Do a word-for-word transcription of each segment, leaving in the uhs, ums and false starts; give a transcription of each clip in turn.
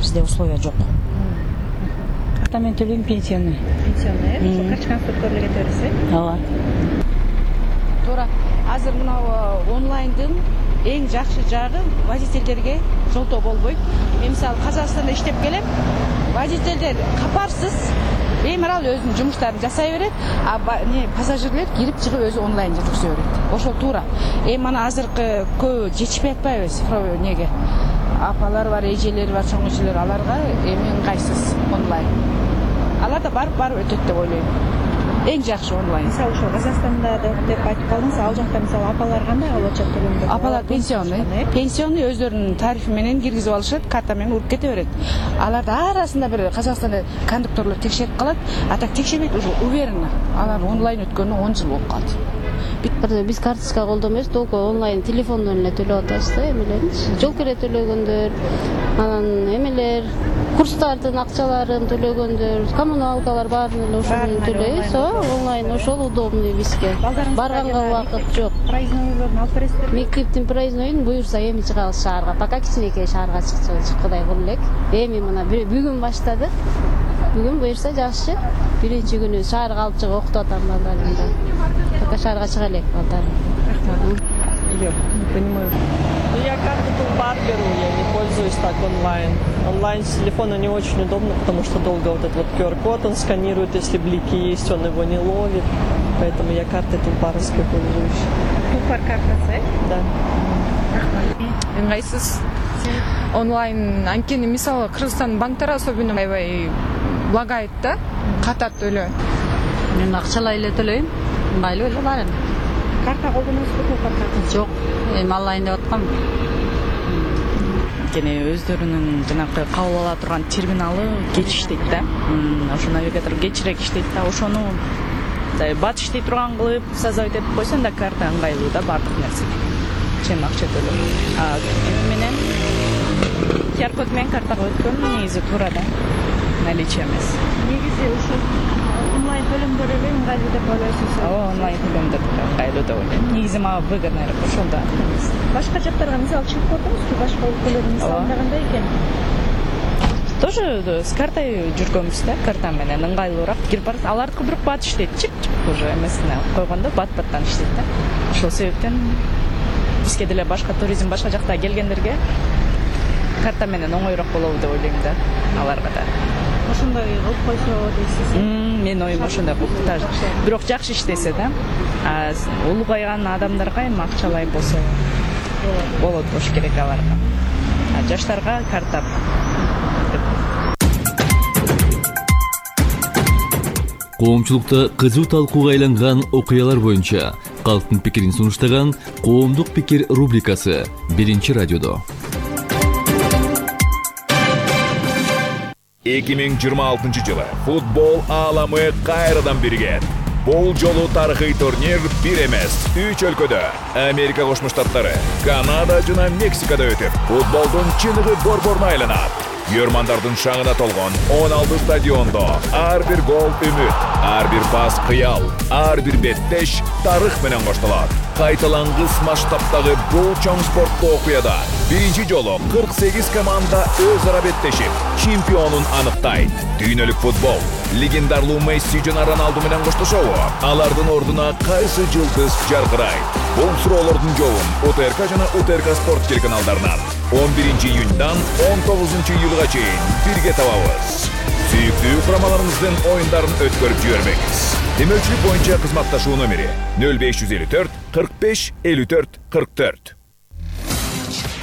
бизде условия жок. Карта менен төлөйм, пенсионный. Пенсионный, ошо качкан өткөрүлгө кетебиз, э? Ооба. Туура. Азыр мына онлайндын эң жакшы жагы водительдерге жолтоо болбойт. Мен мисалы Казакстанда иштеп келем. Водительдер капарсыз беймарал өзүнүн жумуштарын жасай берет, а не пассажирлер кирип чыгып өзү онлайн жүргүзө берет. Ошол туура. Эми мана азыркы көбү жетишпей атпайбы цифровой неге? Апалар бар, эжелер бар, чоң эжелер, аларга эми ыңгайсыз онлайн. Алар да барып барып өтөт деп ойлойм. Эң жакшы онлайн. Мисалы ошо Казакстанда деп айтып калдыңыз, ал жакта мисалы апалар кандай алып атышат төлөмдү? Апалар пенсионный. Пенсионный өздөрүнүн тарифи менен киргизип алышат, карта менен уруп кете берет. Аларды арасында бир Казакстанда кондукторлор текшерип калат, а так текшербейт, уже уверенно. Алар онлайн өткөнүнө он жыл болуп калды. Биз карточка колдонбойбуз, только онлайн телефондон эле төлөп атабыз да, эмелерди. Жол кире төлөгөндөр, анан эмелер, курстардын акчаларын төлөгөндөр, коммуналкалар баарын эле ошону төлөйбүз. Онлайн ошол удобный бизге. Барганга убакыт жок. Проезднойлорун алып бересиздер? Мектептин проездноюн буюрса эми чыгабыз шаарга. Пока кичинекей шаарга чыкчыбыз, Кудай кылып элек. Эми мына бүгүн баштадык. Бүгүн буюрса жакшы. Биринчи күнү шаарга алып чыгып окутуп атам балдарымды. Пока шаарга чыга элек балдарым. Я не понимаю. Ну, я карту Тулпар беру, я не пользуюсь так онлайн. Онлайн с телефона не очень удобно, потому что долго вот этот вот ку ар-код он сканирует, если блики есть, он его не ловит. Поэтому я картой Тулпаровской пользуюсь. Тулпар картасы? Да. Ыңгайсыз. Онлайн анткени мисалы Кыргызстандын банктары особенно аябай лагает да, катат эле. Мен акчалай эле төлөйм, ыңгайлуу эле бар эми. Карта колдоносузбу, Тулпар картасы? Жок, эми онлайн деп аткам. Анткени өздөрүнүн жанагы кабыл ала турган терминалы кеч иштейт да. Ошо навигатор кечирээк иштейт да, ошону бат иштей турган кылып создавать этип койсоң да карта ыңгайлуу да бардык нерсеге. Чем акча төлөп. А эми менен ку ар-код менен картага өткөн негизи туура да. Наличие эмес. Негизи ушул онлайн төлөмдөр эле ыңгайлуу деп ойлойсуз? Ооба, онлайн төлөмдөр ыңгайлуу деп ойлойм. Негизи мага выгодныйраак ошол да. Башка жактарга мисалы чыгып көрдүңүзбү? Башка өлкөлөрдүн мисалында кандай экен? Тоже с картой жүргөнбүз да, карта менен ыңгайлуураак кирип барасыз. Алардыкы бирок бат иштейт, чип-чип уже эмесине алып койгондо бат-баттан иштейт да. Ошол себептен бизге деле башка туризм башка жакта келгендерге карта менен оңойрок болобу деп ойлойм да, аларга да. Ошондой кылып койсо дейсиз. Мен оюм ошондой кылып да. Бирок жакшы иштесе да, улгайган адамдарга эми акчалай болсо болот болуш керек аларга. А жаштарга карта. Коомчулукта кызуу талкууга айланган окуялар боюнча калктын пикирин сунуштаган Коомдук пикир рубрикасы биринчи радиодо. эки миң жыйырма алтынчы жылы футбол ааламы кайрадан биригет. Бул жолу тарыхый турнир бир эмес, үч өлкөдө Америка Кошмо Штаттары, Канада жана Мексикада өтүп, футболдун чыныгы борборуна айланат. Йөрмандардын шаңына толгон он алты стадиондо ар бир гол үмүт, ар бир пас кыял, ар бир беттеш тарых менен коштолот. Кайталангыс масштабтагы бул чоң спорттуу окуяда биринчи жолу кырк сегиз команда өз ара беттешип, чемпионун аныктайт. Дүйнөлүк футбол легендарлуу Месси жана Роналду менен коштошобу? Алардын ордуна кайсы жылдыз жаркырайт? Бул суроолордун жообун УТРК жана УТРК спорт телеканалдарынан он биринчи июньдан он тогузунчу июлга чейин бирге табабыз. Сүйүктүү курамаларыбыздын оюндарын өткөрүп жибербеңиз. Демөчүлүк боюнча кызматташуу номери нөл беш жүз элүү төрт кырк беш элүү төрт кырк төрт.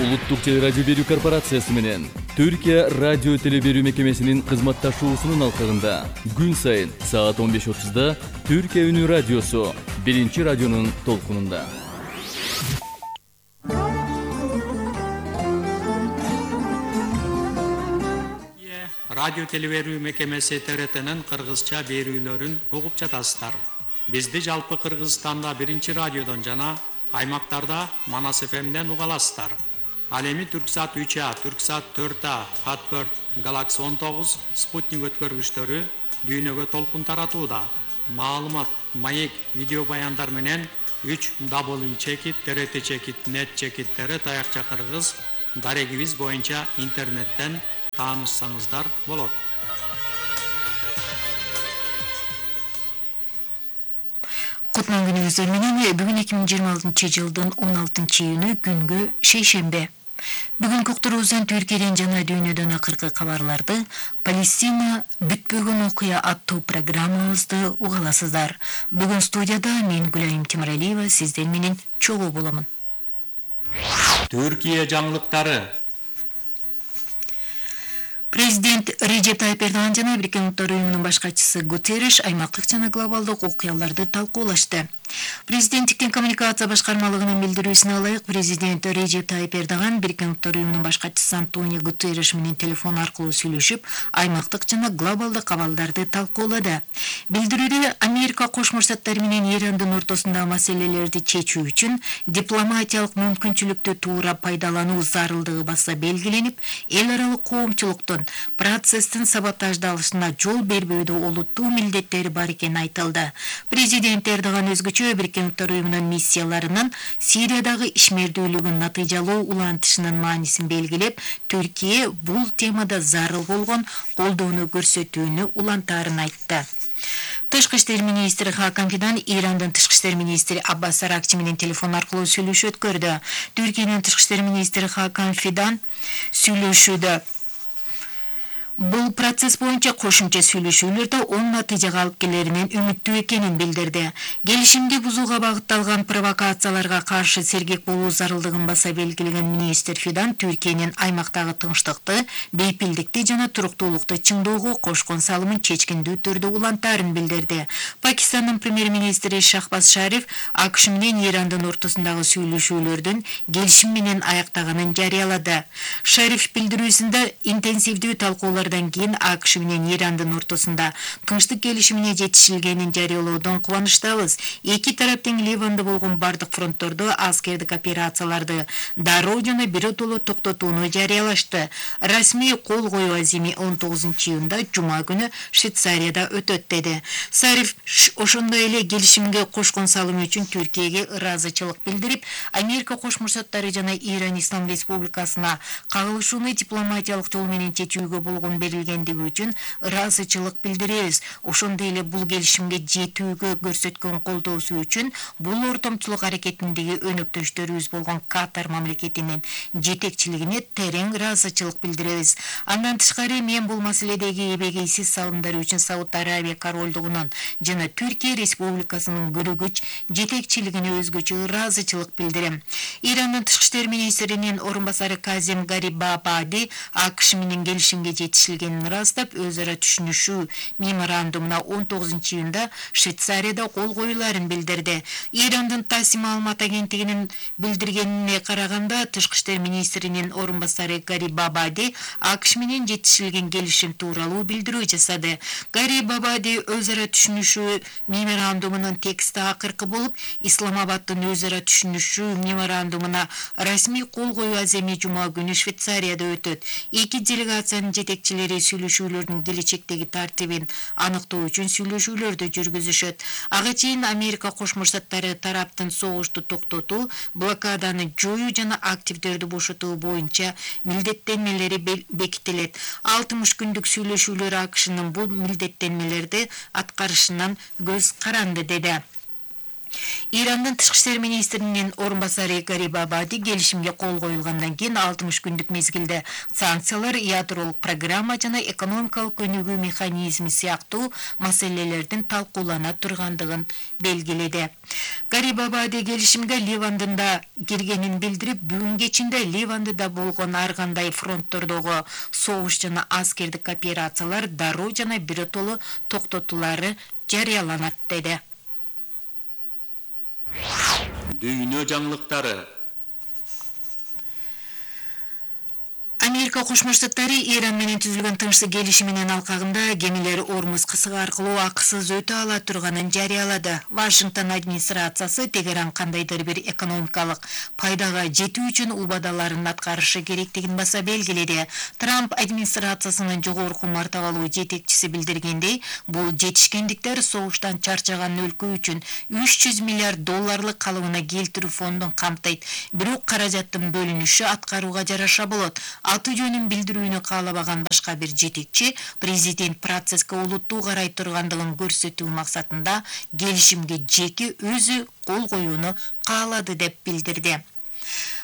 Улуттук телерадио берүү корпорациясы менен Түркия радио теле берүү мекемесинин кызматташуусунун алкагында күн сайын саат он беш отузда Түркия үнү радиосу биринчи радионун толкунунда. Радио телеберүү мекемеси Т Р Т'нин кыргызча берүүлөрүн угуп жатасыздар. Бизди жалпы Кыргызстанда биринчи радиодон жана аймактарда Манас эф эмден уга аласыздар. Ал эми Түрксат үч А, Түрксат төрт А, Fatbird, Galaxy он тогуз, Спутник өткөргүчтөрү дүйнөгө толкун таратууда. Маалымат, маек, видео баяндар менен үч дабл ю чекит, Т Р Т чекит, нет чекиттери таякча кыргыз дарегибиз боюнча интернеттен таанышсаңыздар болот. Кутман күнүңүздөр менен бүгүн эки миң жыйырма алтынчы жылдын он алтынчы июнү күнгө шейшембе. Бүгүнкү уктуруубуздан Түркияден жана дүйнөдөн акыркы кабарларды, Палестина бүтпөгөн окуя аттуу программабызды угаласыздар. Бүгүн студияда мен Гүлайым Темиралиева сиздер менен чогуу боламын. Түркия жаңылыктары. Президент Режеп Тайып Эрдоган жана Бириккен Улуттар уюмунун баш катчысы Гутерриш аймактык жана глобалдык окуяларды талкуулашты. Президенттиктин коммуникация башкармалыгынын билдирүүсүнө ылайык, президент Режеп Тайып Эрдоган Бириккен Улуттар уюмунун баш катчысы Антонио Гутерриш менен телефон аркылуу сүйлөшүп, аймактык жана глобалдык абалдарды талкуулады. Билдирүүдө Америка Кошмо Штаттары менен Ирандын ортосундагы маселелерди чечүү үчүн дипломатиялык мүмкүнчүлүктү туура пайдалануу зарылдыгы баса белгиленип, эл аралык коомчулуктун процесстин саботаждалышына жол бербөөдө олуттуу милдеттери бар экени айтылды. Президент Эрдоган өзгөчө Бириккен Улуттар уюмунун миссияларынын Сириядагы ишмердүүлүгүн натыйжалуу улантышынын маанисин белгилеп, Түркия бул темада зарыл болгон колдоону көрсөтүүнү улантаарын айтты. Тышкы иштер министри Хакан Фидан Ирандын тышкы иштер министри Аббас Аракчи менен телефон аркылуу сүйлөшүү өткөрдү. Түркиянын тышкы иштер министри Хакан Фидан сүйлөшүүдө бул процесс боюнча кошумча сүйлөшүүлөрдө оң натыйжага алып келеринен үмүттүү экенин билдирди. Келишимди бузууга багытталган провокацияларга каршы сергек болуу зарылдыгын баса белгилеген министр Фидан Түркиянын аймактагы тынчтыкты, бейпилдикти жана туруктуулукту чыңдоого кошкон салымын чечкиндүү түрдө улантаарын билдирди. Пакистандын премьер-министри Шахбаз Шариф АКШ менен Ирандын ортосундагы сүйлөшүүлөрдүн келишим менен аяктаганын жарыялады. Шариф билдирүүсүндө интенсивдүү талкуулар кийин АКШ менен Ирандын ортосунда тынчтык келишимине жетишилгенин жарыялоодон кубанычтабыз. Эки тараптын Ливанда болгон бардык фронттордо аскердик операцияларды дароо жана биротоло токтотууну жарыялашты. Расмий кол коюу азими он тогузунчу июнда жума күнү Швейцарияда өтөт деди. Сариф ошондой эле келишимге кошкон салымы үчүн Түркияга ыраазычылык билдирип, Америка Кошмо Штаттары жана Иран Ислам Республикасына кагылышууну дипломатиялык жол менен чечүүгө болгон берилгендиги үчүн ыраазычылык билдиребиз. Ошондой эле бул келишимге жетүүгө көрсөткөн колдоосу үчүн бул ортомчулук аракетиндеги өнөктөштөрүбүз болгон Катар мамлекетинин жетекчилигине терең ыраазычылык билдиребиз. Андан тышкары мен бул маселедеги эбегейсиз салымдар үчүн Сауд Арабия королдугунун жана Түркия Республикасынын көрүгүч жетекчилигине өзгөчө ыраазычылык билдирем. Ирандын тышкы иштер министринин орун басары Казим Гарибабади АКШ менен келишимге жетишилгенин ырастап, өз ара түшүнүшүү меморандумуна он тогузунчу июнда Швейцарияда кол коюларын билдирди. Ирандын Тасс маалымат агенттигинин билдиргенине караганда, тышкы иштер министринин орун басары Гарибабади АКШ менен жетишилген келишим тууралуу билдирүү жасады. Гарибабади өз ара түшүнүшүү меморандумунун тексти акыркы болуп, Исламабадтын өз ара түшүнүшүү меморандумуна расмий кол коюу аземи жума күнү Швейцарияда өтөт. Эки делегациянын жетекчилери сүйлөшүүлөрдүн келечектеги тартибин аныктоо үчүн сүйлөшүүлөрдү жүргүзүшөт. Ага чейин Америка Кошмо Штаттары тараптын согушту токтотуу, блокаданы жоюу жана активдерди бошотуу боюнча милдеттенмелери бекитилет. алтымыш күндүк сүйлөшүүлөр АКШнын бул милдеттенмелерди аткарышынан көз каранды деди. Ирандын тышкы иштер министринин орун басары Гарибабади келишимге кол коюлгандан кийин алтымыш күндүк мезгилде санкциялар, ядролук программа жана экономикалык өнүгүү механизми сыяктуу маселелердин талкуулана тургандыгын белгиледи. Гарибабади келишимге Ливандын да киргенин билдирип, бүгүн кечинде Ливандыда болгон ар кандай фронттордогу согуш жана аскердик операциялар дароо жана биротоло токтотулары жарыяланат деди. Дүйнө жаңылыктары. Америка Кошмо Штаттары Иран менен түзүлгөн тынчтык келишиминин алкагында кемелер Ормуз кысыгы аркылуу акысыз өтө ала турганын жарыялады. Вашингтон администрациясы Тегеран кандайдыр бир экономикалык пайдага жетүү үчүн убадаларын аткарышы керектигин баса белгиледи. Трамп администрациясынын жогорку мартабалуу жетекчиси билдиргендей, бул жетишкендиктер согуштан чарчаган өлкө үчүн үч жүз миллиард долларлык калыбына келтирүү фондун камтыйт. Бирок каражаттын бөлүнүшү аткарууга жараша болот. Ал аты жөнүн билдирүүнү каалабаган башка бир жетекчи президент процесске олуттуу карай тургандыгын көрсөтүү максатында келишимге жеке өзү кол коюуну каалады деп билдирди.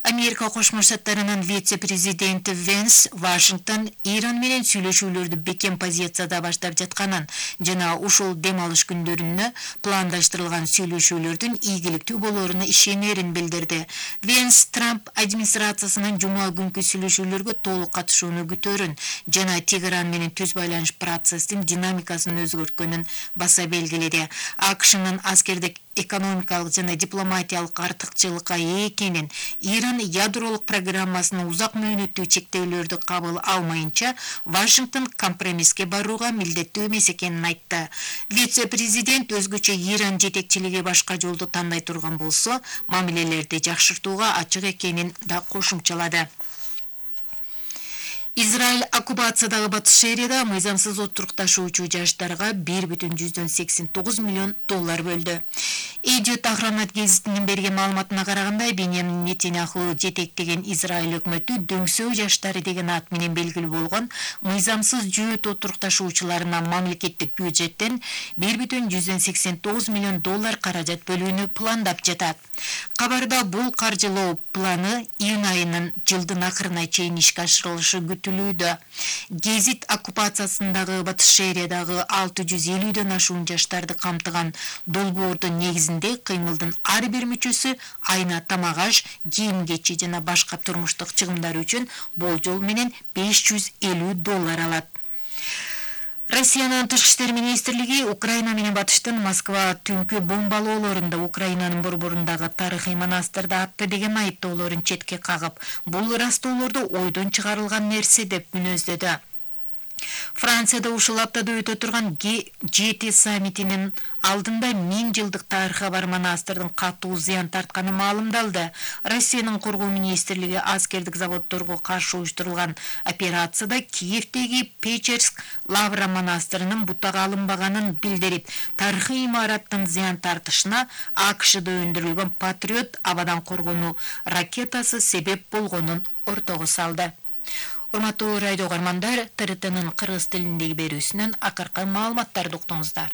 Америка Кошмо Штаттарынын вице-президенти Венс Вашингтон Иран менен сүйлөшүүлөрдү бекем позицияда баштап жатканын жана ушул дем алыш күндөрүнө пландаштырылган сүйлөшүүлөрдүн ийгиликтүү болоруна ишенерин билдирди. Венс Трамп администрациясынын жума күнкү сүйлөшүүлөргө толук катышууну күтөрүн жана Тегеран менен түз байланыш процесстин динамикасын өзгөрткөнүн баса белгиледи. АКШнын аскердик экономикалык жана дипломатиялык артыкчылыкка ээ экенин, Иран ядролук программасынын узак мөөнөттүү чектөөлөрдү кабыл алмайынча Вашингтон компромисске барууга милдеттүү эмес экенин айтты. Вице-президент өзгөчө Иран жетекчилиги башка жолду тандай турган болсо, мамилелерди жакшыртууга ачык экенин да кошумчалады. Израиль оккупациядагы Батыш Шерияда мыйзамсыз отурукташуучу жаштарга бир бүтүн жүздөн сексен тогуз миллион доллар бөлдү. Эдиот Ахромат гезитинин берген маалыматына караганда, Беньямин Нетаньяху жетектеген Израиль өкмөтү дөңсөө жаштары деген ат менен белгилүү болгон мыйзамсыз жөөт отурукташуучуларына мамлекеттик бюджеттен бир бүтүн жүздөн сексен тогуз миллион доллар каражат бөлүүнү пландап жатат. Кабарда бул каржылоо планы июнь айынын жылдын акырына чейин ишке ашырылышы күтүлүүдө. Гезит оккупациясындагы Батыш Шериядагы алты жүз элүүдөн ашуун жаштарды камтыган долбоордун негизинде кыймылдын ар бир мүчөсү айына тамак-аш, кийим-кечи жана башка турмуштук чыгымдар үчүн болжол менен беш жүз элүү доллар алат. Россиянын тышкы иштер министрлиги Украина менен Батыштын Москва түнкү бомбалоолорунда Украинанын борборундагы тарыхый монастырды атты деген айыптоолорун четке кагып, бул растоолорду ойдон чыгарылган нерсе деп мүнөздөдү. Францияда ушул аптада өтө турган Г жети саммитинин алдында миң жылдык тарыхы бар монастырдын катуу зыян тартканы маалымдалды. Россиянын коргоо министрлиги аскердик заводдорго каршы уюштурулган операцияда Киевдеги Печерск Лавра монастырынын бутага алынбаганын билдирип, тарыхый имараттын зыян тартышына АКШда өндүрүлгөн Патриот абадан коргонуу ракетасы себеп болгонун ортого салды. Урматтуу радио угармандар, Т Р Т'нын кыргыз тилиндеги берүүсүнөн акыркы маалыматтарды уктуңуздар.